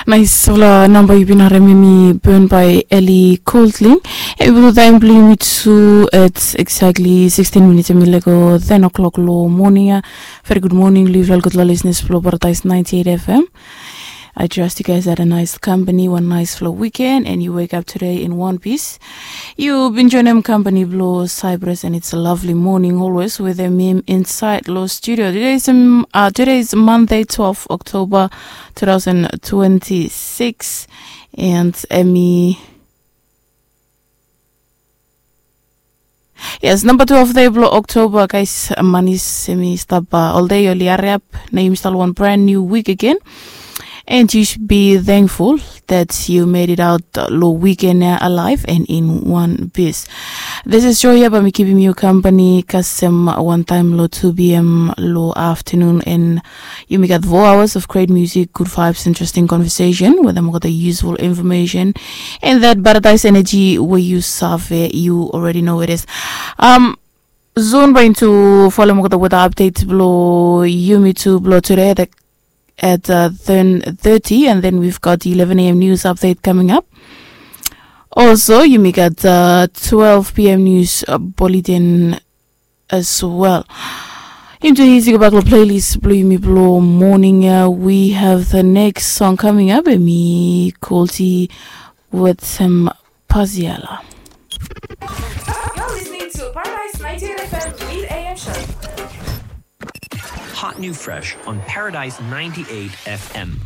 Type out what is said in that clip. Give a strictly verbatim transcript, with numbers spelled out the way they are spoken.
Naisfala namba yu bin harem, hemi Burn by Ellie Goulding. Hemi blo taem blo yumi tu, it's exactly sixteen minutes hemi lego ten o'clock lo moning ia. Very good morning lo yufala gudfala listeners blo Paradise ninety-eight F M. I trust you guys had a nice company, one nice flow weekend, and you wake up today in one piece. Yu bin joenem company blo Cyprus, and it's a lovely morning always with him inside lo studio. Today is, um, uh, today is Monday, twelve October two thousand twenty-six, and hemi Yes, namba twelve dei blo October, guys. Manis hemi stap, uh, ol dei oli hariap. Nao yumi stap lo wan brand new week again. And you should be thankful that you made it out lo weekend ia alive and in one piece. This is Joy ia, bae mi kipim yu company kasem wan taem lo two p.m. lo afternoon, and yumi gat four hours of great music, good vibes, interesting conversation wetem olgeta useful information, and that Paradise energy we yu save, you already know it is. Um, soon bae yumi tu folem olgeta weather update blo yumi tu blo today at, at, uh, ten thirty, and then we've got eleven a.m. news update coming up. Also, yumi gat, uh, twelve p.m. news, uh, bulletin as well. Yumi tu hiti gobak lo playlist blo yumi blo moning ia. We have the next song coming up, hemi Colty wetem Pasiala. You're listening to Paradise ninety-eight F M mid A M show. Hot new fresh on Paradise ninety-eight F M.